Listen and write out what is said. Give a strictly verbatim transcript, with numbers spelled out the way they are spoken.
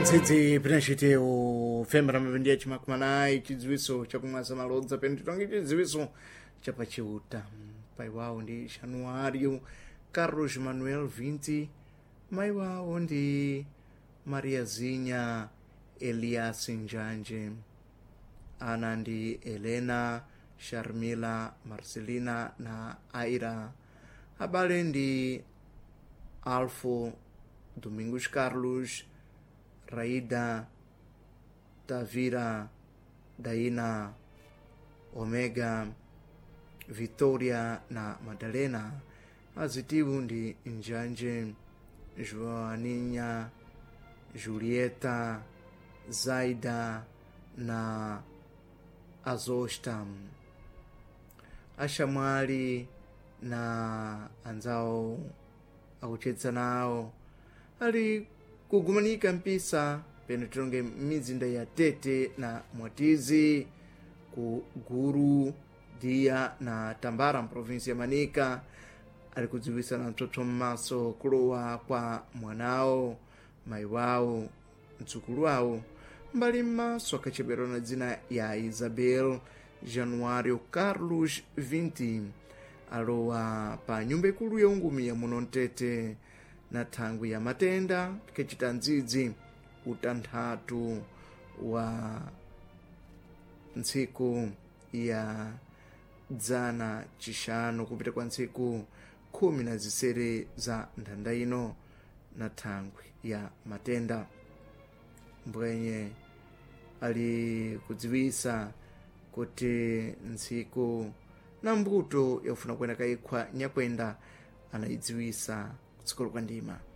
Ntsitsi pinachitewo fembera mapindi ya chimakumanayi, chidziwiso chakumwaza malodza pene titonge chidziwiso chapachiuta. Pai wawo ndi Januário Carlos Manuel Vinti, mai wawo ndi Mariazinha Elias Njanje, ana ndi Helena, Sharmila, Marcelina na Aira. Abale ndi Alfo Domingos Carlos, Raida, Tavira, Daina, Omega, Victoria na Madalena. Azitiwu ndi Njanje, Joaninha, Julieta, Zaida na Azosta. Axamwali na anzawo akucheza nawo ali kugumanika mpisa pene tilonge m'mizinda ya Tete na Mwatizi, ku Guru, Dia na Tambara, mprovinsi ya Manika, ali kudziwisana mtsotso m'maso kulowa kwa mwanawo, mayi wawo, mdzukulu wawo mbali m'maso akachepera na dzina ya Isabel Januário Carlos Vinti, alowa pa nyumba ikulu ya ungumi ya muno Mtete na thangwi ya matenda tikachita ndzidzi utanthatu wa ntsiku ya dzana chixanu kupita kwa ntsiku khumi na zisere za nthanda ino na thangwi ya matenda. Mbwenye ali kudziwisa kuti ntsiku na mbuto yofuna kuyenda kayikhwa nyakwenda anayidziwisa kutsikolo kwa ndima.